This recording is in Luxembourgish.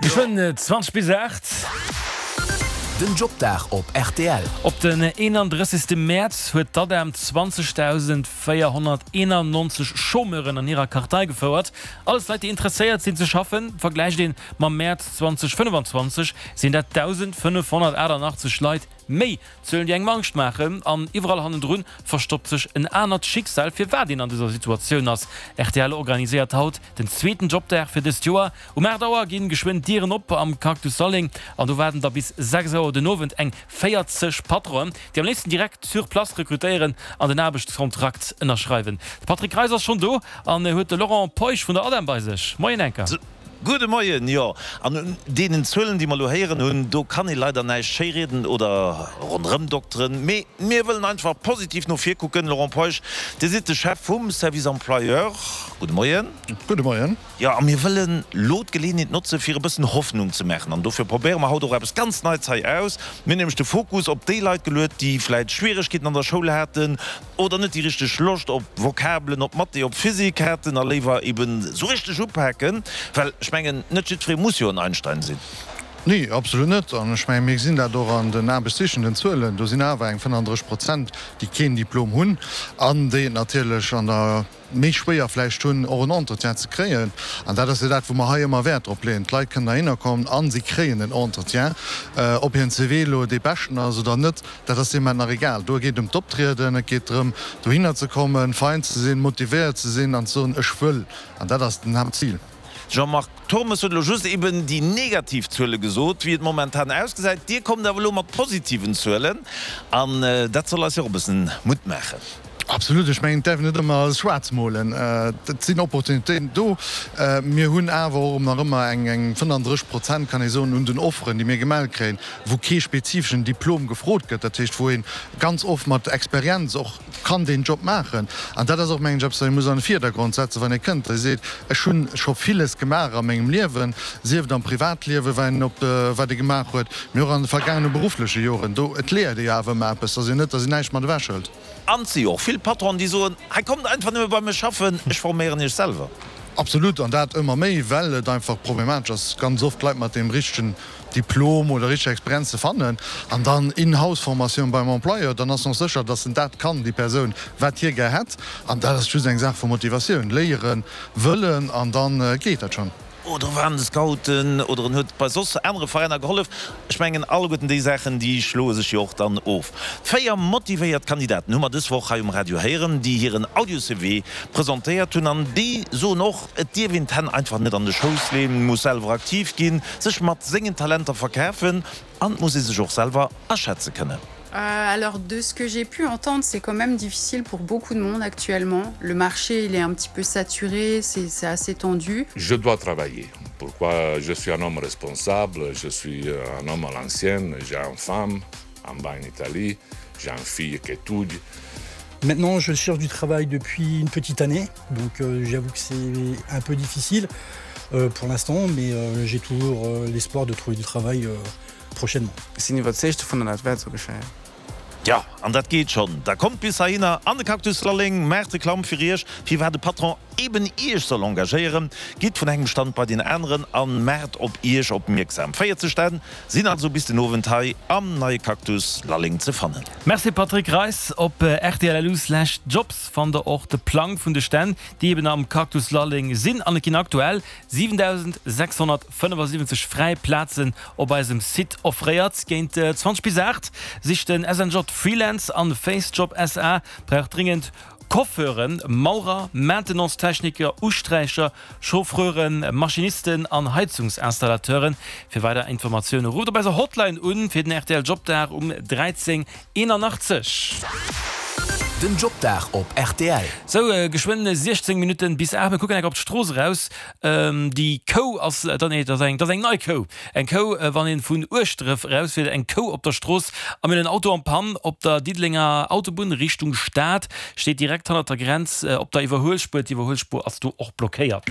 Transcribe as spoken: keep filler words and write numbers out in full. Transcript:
Geschwënn zwanzeg bis aacht. Den Jobdag op rtl. Op den eenandrëssegste Mäerz huet d'ADEM zwanzegdausendvéierhonnerteenannonzeg Chômeuren an hirer Kartei gefouert. Alles Leit, déi interesséiert sinn ze schaffen. Vergläicht een mam Mäerz zweedausendfënnefenzwanzeg, sinn dat dausendfënnefhonnertaachtannachtzeg Leit méi. Zuelen, déi engem Angscht maachen. An iwwerall hannendrun verstoppt sech en anert Schicksal, firwat een an dëser Situatioun ass. Rtl organiséiert haut den zweeten Jobdag fir dëst Joer. Um aacht Auer ginn geschwënn d'Dieren op am Cactus Salling an do waarden da bis sechs Auer den Owend eng véierzeg Patronen, déi am léifsten direkt sur place rekrutéieren an den Aarbechtskontrakt ënnerschreiwen. De Patrick Greis ass schonn do an huet de Laurent Peusch vun der ADEM bei sech. Moien Enker. Gudde Moien. Jo, an un deenen Zuelen, déi mer elo héieren hunn, do kann ee leider näischt schéirieden oder ronderëmdokteren. Mee mir wëllen einfach positiv no vir kucken. Laurent Peusch, Dir sidd de Chef vum Service Employeur. Gudde Moien. Gudde Moien. Jo, a mir wëllen elo d'Geleeënheet notzen, fir e bëssen Hoffnung ze maachen. An dofir probéiere mer haut och eppes ganz Neits hei aus. Mir hunn nämlech de Fokus op déi Leit geluet, déi vläicht Schwieregkeeten an der Schoul haten oder net déi richteg Loscht op Vokabelen, op Mathé, op Physik haten a léiwer eben esou richteg upaken. Well ech mengen, net jiddweree muss jo en Einstein sinn. Nee, absolut net. An ech mengen, mir gesinn dat och an den aarbechtssichenden Zuelen. Do sinn awer eng fënnanddrësseg Prozent, déi keen Diplom hunn an déi et natierlech an der méi schwéier vläicht hunn, och en Entretien ze kréien. An dat ass jo dat, wou mer hei ëmmer Wäert drop leeën, D'Leit kënnen heihinner kommen a si kréien en Entretien. Ob hiren C V elo dee beschten ass oder net, dat ass deem Moment nach egal. Do geet et ëm d'Optrieden, et geet drëm, dohinner ze kommen, fein ze sinn, motivéiert ze sinn an ze soen, Ech wëll. An dat ass den Haaptzil. Jean-Marc Turmes huet elo just eben déi negativ Zuele gesot, wéi et momentan ausgesäit. Dir kommt awer elo mat positiven Zuelen an dat soll eis jo och e bëssen Mutt maachen. Absolut. Ech mengen, et däerf een net ëmmer alles schwaarz molen. Et sinn Opportunitéiten do. Mir hunn awer och nach ëmmer eng fënnanddrësseg Prozent, kann ee soen, un den Offeren, déi mir gemellt kréien, wou kee spezifeschen Diplom gefrot gëtt. Dat heescht, wou ee ganz oft mat Experienz och kann deen Job maachen. An dat ass och, mengen ech, eppes, wat ee muss an de Virdergrond setzen, wann ee kënnt a seet, Ech hu scho villes gemaach a mengem Liewen, sief et am Privatliewen, wat een op, wat ee gemaach huet, mee och an de vergaangene beruffleche Joren. Do, et léiert ee jo awer ëmmer eppes. Et ass jo net, datt een näischt mat ewechhëlt. An et si jo och vill Patronen, déi soen, Hei kommt einfach nëmme bei mech schaffen, ech forméieren iech selwer. Absolut, an dat ëmmer méi, well et einfach problematesch ass, ganz oft Leit mat deem richtegen Diplom oder richteger Experienz ze fannen. An dann In-house-Formatioun beim Employeur, dann ass en och sécher, dass en dat kann, déi Persoun, wat hie gär hätt. An dat ass just eng Saach vu Motivatioun, léieren, wëllen an da geet dat schonn. Oder war an de Scouten oder en huet bei soss anere Veräiner gehollef. Ech mengen, alleguerten déi Saachen, déi schloe sech jo och dann of. Véier motivéiert Kandidaten hu mer dës Woch hei um Radio héieren, déi hiren Audio-C V presentéiert hunn. An déi soen och, et dierf een d'Hänn einfach net an de Schouss leeën, et muss selwer aktiv ginn, sech mat sengen Talenter verkafen an et muss ee sech och selwer aschätze kënnen. Euh, alors de ce que j'ai pu entendre, c'est quand même difficile pour beaucoup de monde actuellement. Le marché il est un petit peu saturé, c'est assez tendu. Je dois travailler. Pourquoi je suis un homme responsable, je suis un homme à l'ancienne, j'ai une femme en bas en Italie, j'ai une fille qui étudie. Maintenant, je cherche du travail depuis une petite année, donc euh, j'avoue que c'est un peu difficile euh, pour l'instant, mais euh, j'ai toujours euh, l'espoir de trouver du travail euh, prochainement. Ech sinn iwwerzeegt dovun, dat wäert sou geschéien. Jo, an dat geet schonn. Da kommt bis heihinner an de Cactus Lalleng, maacht Reklamm fir iech, firwat de Patron eben iech soll engagéieren. Gitt vun engem Stand bei deen aneren a maacht op iech opmierksam. véierzeg Stänn sinn also bis den Owend hei am neie Cactus Lalleng ze fannen. Merci Patrick Reis. Op rtl.lu slash jobs fannt der och de Plang vun de Stänn, déi eben am Cactus Lalleng sinn. An et ginn aktuell siwendausend sechshonnertfënnefasiwwenzeg fräi Plazen op eisem Site offréiert. Géint zwanzeg bis aacht sicht den S N J Freelance an Facejob S A brauch dringend Coiffeuren, Maurer, Maintenance-Techniker, Usträicher, Chauffeuren, Maschinisten an Heizungsinstallateuren. Fir weider Informatioune rufft op eiser Hotline un fir den R T L Jobdag um dräizéng eenanachtzeg. Den Jobdag op R T L. Sou, geschwënn siechzéng Minutten bis aacht. Mir kucken enk op d'Strooss eraus. Déi Kou ass, nee, dat ass eng, dat ass eng nei Kou. Eng Kou, wann een vun Ueschdref erausfiert, eng Kou op der Strooss. A mir hunn en Auto en panne op der Diddelenger Autobunn Richtung Stad. Steet direkt hannert der Grenz op der Iwwerhuelspuer. D'Iwwerhuelspuer ass do och blockéiert.